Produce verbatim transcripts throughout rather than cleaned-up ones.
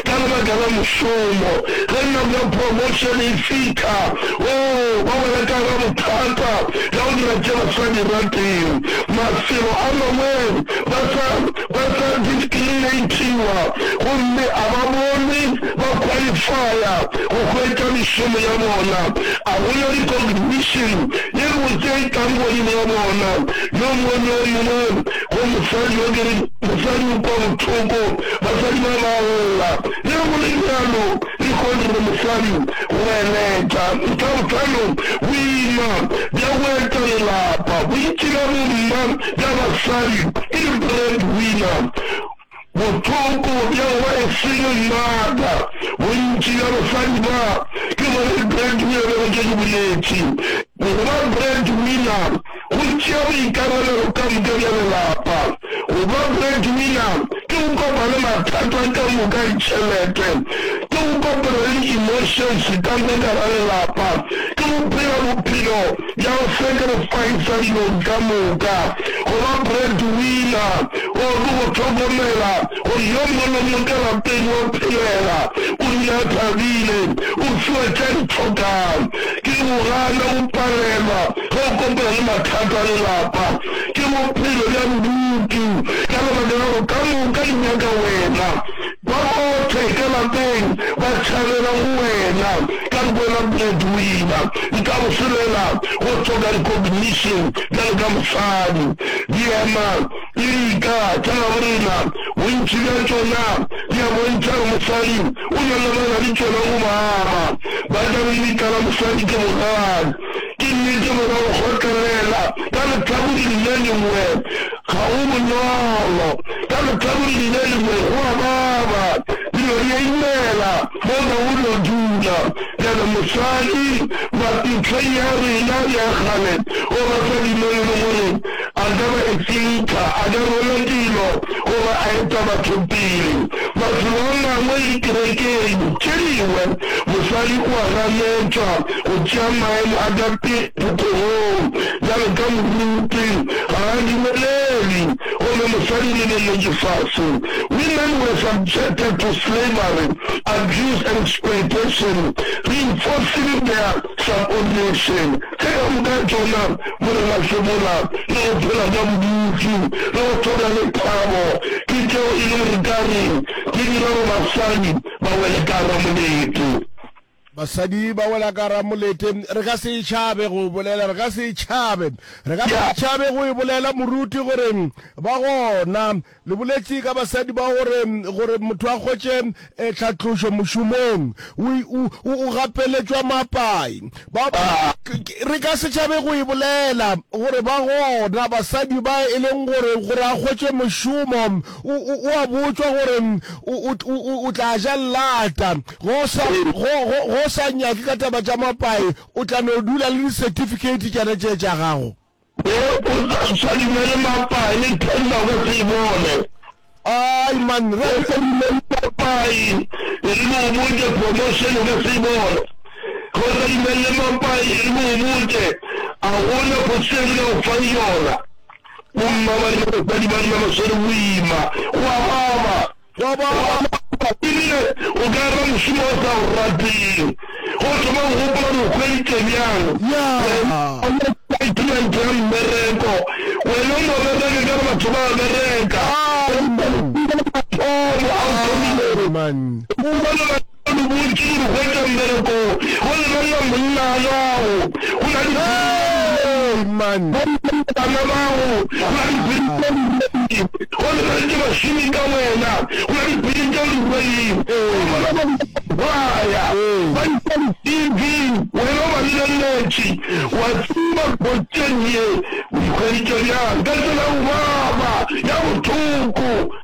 ka lebaka la mošomo. Ge nako ya promotion e fihla, oo, ba wela ka gara bothata bja go dira tše ba sa di rateng. Mafelo a mangwe ba sa, ba sa discriminatiwa gomme a ba bonwe ba qualifya go hwetša mešomo ya bona. A go na recognition ye botse e tlang godimo ga bona. Yo mongwe le yo mongwe go mosadi yo ke re mosadi o kwa bohloko, basadi ba ba lla. Le ge go le bjalo, lehono re mosadi go eletša. Ntlha bohlano, boima bja go eta lelapa. Bontši bja bomma bja basadi ke di-bread winner. Bohloko bja go ba a single mother. Bontši bja basadi ba ke bona di-bread winner bjalo ke ke boletše. Go ba bread winner go tšea boikarabelo ka moka bja lelapa. Go ba bread winner ke go kopana le mathata ka moka a ditšhelete, ke go kopana le di-emotions ka moka ka gare lelapa, ke go phela bophelo bja go sacrifice dilong ka moka. Go ba bread winner go ke go hlokomela gore yo mongwe le mongwe ka lapeng wa phelela, o dula a thabile, o fiwa tše a di hlokang. Ke go gana go palelwa ge o kopana le mathata a lelapa. Ke bophelo bja bodutu ka lebaka la gore ka moka di nyaka wena. Ba bohle ka lapeng ba tšhabela go wena ka re wena breadwinner. Nka boselela go hloka recognition bjalo ka mosadi. Diema le dika tša gabo rena bontši bja tšona di a bontšha gore mosadi o na lebana le tšona go baba. Ba tla re lebitla la mosadi ke bogale. Ke nnete gore go kgotlelela ka lehlakoreng le lengwe ga go bonolo. Ka lehlakoreng le lengwe go a baba. Dilo di a imela mo ga go no dula. Bjale mosadi mehleng ya rena ya kgale o ba sa dumelele gore a ka ba a thinker, a ka rwala dilo goba a eta batho pele. Mafelo a mangwe le dikerekeng tše dingwe, mosadi o a ganetšwa go tšea maemo a ka pele phuthegong bjalo ka moruti, ga a dumelelwe gomme mosadi o lebeletše fase. Women were subjected to slavery, abuse and exploitation, reinforcing their subordination. Tše ka moka tšona Morena Sebola le go phela ka bodutu le go hloka lethabo ke tšeo e le gore ka re di dira gore basadi ba wele ka gara molete. Basadi ba wela ka gara molete. Re ka se e tšhabe go bolela, re ka se e tšhabe, re ka se e tšhabe go e bolela moruti gore ba gona. Le boletše ka basadi ba gore, gore motho a hwetše tlhatlošo mošomong, o, o, o gapeletšwa mapai. Ba, re ka se tšhabe go e bolela, gore ba gona basadi ba e leng gore, gore a hwetše mošomo, o, o, o a botšwa gore o, o, o, o tla ja llata. Go sa, go, go, go sa nyake ka taba tša mapai, o tla no dula le di-certificate tšana tše tša gago. Ge o sa dumele mapai, le tender o ka se e bone. Ai man, re. O sa dumele mapai, e re ke go botše, promotion o ka se e bone. Ge o sa dumelele mapai, e re ke go botše, a gona position ke ka go fang yona. Bomma ba rena, basadi ba rena ba swere boima, go a baba. Go baba. Ebile o ka ra mošomo o sa o rateng. Go thoma go gopola gore o hweditše bjang. Wena excitement ya mmereko. Wena o no bereka ka re batho ba a bereka. Mathomo a o thomilego. O bona batho ba botše gore hwetša mmereko. Go lebelela monna wa gago. Go na le bana bago. Go na le Go lebeletše bašomi ka wena, go na le dipiri tšeo di rweleng, ba bona ba bolaya, ba iša di-T V, wena o ba lebeletše, wa tseba position ye o ikhweditše bjang, ka tsela ya go baba, ya bohloko.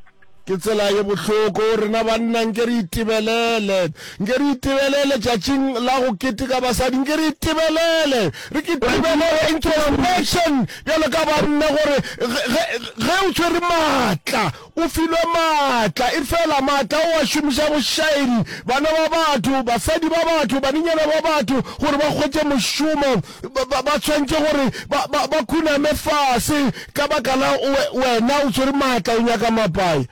Ke tsela ye bohloko. Rena banna nke re itebelele. Nke re itebelele tšatšing la go keteka basadi. Nke re itebelele. Re ke tebelele introspection bjalo ka banna gore ge, ge o tshwere maatla, o filwe maatla, efela maatla o a šomiša bošaedi bana ba batho, basadi ba batho, banenyana ba batho gore ba hwetše mošomo, ba, ba, ba tshwanetše gore ba, ba, ba khuname fase ka baka la wena o tshwere maatla o nyaka mapai.